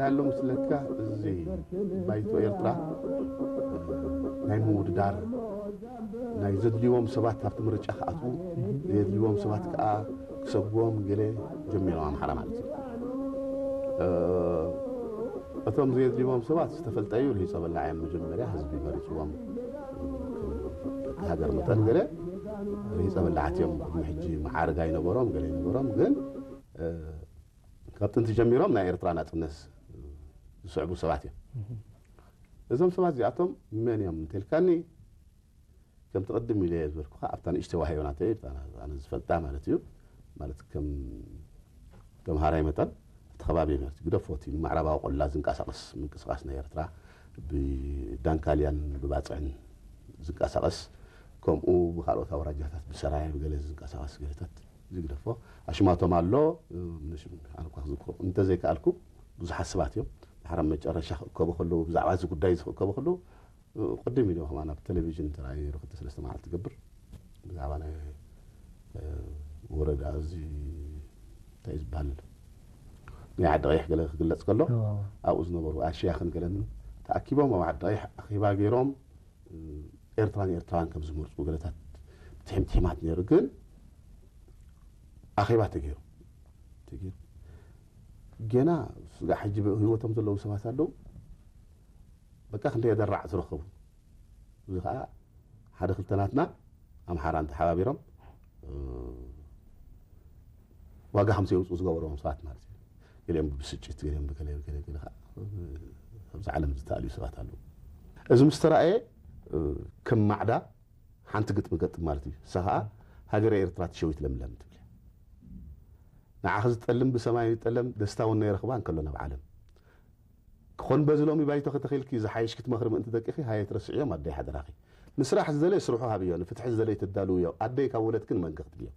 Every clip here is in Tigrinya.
ኣሎ ምስለካ፣ እዚ ባይቶ ኤርትራ ናይ ምውድዳር፣ ናይ ዘድልዎም ሰባት ኣብቲ ምርጫ ክኣትዉ፣ ዘየድልዎም ሰባት ከዓ ክሰግዎም ገለ ጀሚሮም ኣምሓራ ማለት እዩ። እቶም ዘየድልዎም ሰባት ዝተፈልጠ እዩ፣ ርሂፀ በላዕ እዮም። መጀመርያ ህዝቢ መሪፅዎም ሃገር መጠን ገለ ርሂፀ በላዓት እዮም። ቅድሚ ሕጂ መዓርግ ኣይነበሮም፣ ገለ ኣይነበሮም፣ ግን ካብ ጥንቲ ጀሚሮም ናይ ኤርትራ ናጽነት ዝስዕቡ ሰባት እዮም። እዞም ሰባት እዚኣቶም መን እዮም እንተልካኒ፣ ከምቲ ቅድም ኢለ ዝበልኩኻ ኣብታ ንእሽተይ ዋህዮ ናተይ፣ ኣነ ዝፈልጣ ማለት እዩ፣ ማለት ከም ተምሃራይ መጠን እቲ ከባቢ ማለት እዩ፣ ግደፎ እቲ ንምዕራባዊ ቆላ ዝንቀሳቐስ ምንቅስቓስ ናይ ኤርትራ ብዳንካልያን ብባጽዕን ዝንቀሳቐስ፣ ከምኡ ብካልኦት ኣውራጃታት ብሰራየ ብገለ ዝንቀሳቐስ ገለታት ዝግደፎ ኣሽማቶም ኣሎ። ምንሽም ኣነ እኳ ክዝክሮ እንተዘይከኣልኩ፣ ብዙሓት ሰባት እዮም ድሓር ኣብ መጨረሻ ክእከቡ ከለዉ፣ ብዛዕባ እዚ ጉዳይ እዚ ክእከቡ ከለዉ፣ ቅድም ኢሉ ከማን ኣብ ቴሌቪዥን ተራእዩ ክልተ ሰለስተ መዓልቲ ትገብር ብዛዕባ ናይ ወረዳ እዚ እንታይ እዩ ዝበሃል፣ ናይ ዓዲ ቀይሕ ገለ ክግለጽ ከሎ፣ ኣብኡ ዝነበሩ ኣሽያኽን ገለን ተኣኪቦም ኣብ ዓዲ ቀይሕ ኣኼባ ገይሮም፣ ኤርትራን ኤርትራውያን ከም ዝመርጹ ገለታት ትሕምትሒማት ነይሩ። ግን ኣኼባ ተገይሩ፣ ተገይሩ። ገና ስጋዕ ሕጂ ብህይወቶም ዘለዉ ሰባት ኣለዉ። በቃ ክንደይ ኣደራዕ ዝረኸቡ። እዚ ኸዓ ሓደ ክልተ ናትና ኣምሓራን ተሓባቢሮም፣ እ፣ ዋጋ ከም ዘየውፅኡ ዝገበርዎም ሰባት ማለት እዩ። ገሊኦም ብብስጭት፣ ገሊኦም ብገለ፣ ገለ፣ ገለ ኸዓ ኣብዚ ዓለም ዝተኣልዩ ሰባት ኣለዉ። እዚ ምስ ተራእየ፣ እ፣ ከም ማዕዳ ሓንቲ ግጥሚ ገጥም ማለት እዩ። ንሳ ኸዓ ሃገረ ኤርትራ ትሸዊት ለምለም ትብል እያ። ንዓኺ ዝጠልም ብሰማይ ይጠለም፣ ደስታ እውን ነይረኽባ እንከሎ ናብ ዓለም። ክኾን በዚ ሎሚ ባይቶ ከተኺልኪ ዝሓይሽ ክትመኽሪ ምእንቲ ደቅኺ ሃየ ትረስዕዮም ኣደይ ሓደራኺ። ንስራሕ ዝደለየ ስርሑ ሃብዮ፣ ንፍትሒ ዝደለየ ተዳልውዮ፣ ኣደይ ካብ ወለድክን መንገ ክትብዮ።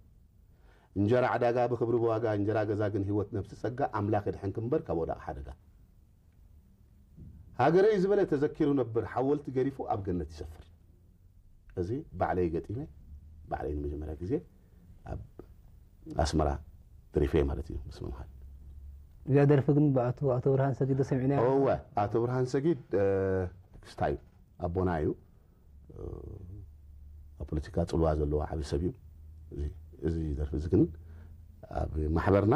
እንጀራ ዕዳጋ ብኽብሪ ብዋጋ፣ እንጀራ ገዛ ግን ህይወት ነብሲ ጸጋ፣ ኣምላኽ የድሕንኪ እምበር ካብ ወዳቕ ሓደጋ። ሃገረይ ዝበለ ተዘኪሩ ነብር፣ ሓወልቲ ገዲፉ ኣብ ገነት ይሰፍር። እዚ ባዕለይ ገጢመ፣ ባዕለይ ንመጀመርያ ግዜ ኣብ ኣስመራ ደሪፈ ማለት እዩ፣ ምስ መምሃል። እዚኣ ደርፊ ግን ብኣቶ፣ ኣቶ ብርሃን ሰጊድ ዶ ሰሚዕናዮ? እወ፣ ኣቶ ብርሃን ሰጊድ፣ እ፣ ክስታይ ኣቦና እዩ። እ፣ ኣብ ፖለቲካ ጽልዋ ዘለዎ ዓቢ ሰብ እዩ። እዚ፣ እዚ ደርፊ እዚ ግን ኣብ ማሕበርና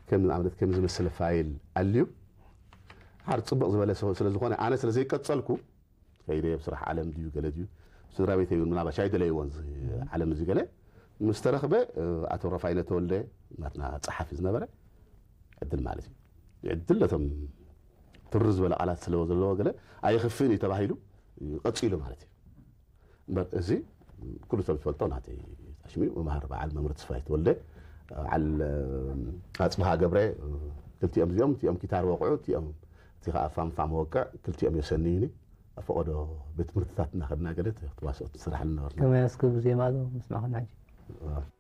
ከም ንኣብነት ከም ዝመሰለ ፋይል ኣልዩ፣ ሓር ጽቡቕ ዝበለ ሰው ስለ ዝኾነ፣ ኣነ ስለ ዘይቀጸልኩ፣ ከይደ ኣብ ስራሕ ዓለም ድዩ ገለ ድዩ፣ ስድራ ቤተይ እውን ምናልባሽ ኣይደለይዎን እዚ ዓለም እዚ ገለ። ምስ ተረኽበ፣ እ፣ ኣቶ ረፋይነ ተወልደ ናትና ጸሓፊ ዝነበረ ዕድል ማለት እዩ። ዕድል ነቶም ትርር ዝበለ ቃላት ስለ ዘለዎ ገለ ኣይኽፍእን እዩ ተባሂሉ ቀጺሉ ማለት እዩ። እምበር እዚ ኩሉ ሰብ ዝፈልጦ ናተይ ታሽሚ መማህር በዓል መምህር ተስፋይ ተወልደ፣ በዓል፣ እ፣ ኣጽብሃ ገብረ፣ እ፣ ክልቲኦም እዚኦም፣ እቲኦም ኪታር ወቕዑ፣ እቲኦም፣ እቲ ኸኣ ፋንፋ መወቅዕ፣ ክልቲኦም የሰንዩኒ። ኣብ ፈቐዶ ቤት ትምህርትታት እናኸድና ገለ ተዋስኦት ንስራሕ ንነበርና። ከመይ ኣስክብ ዜማ ዶ ምስማዕኹም ሕጂ?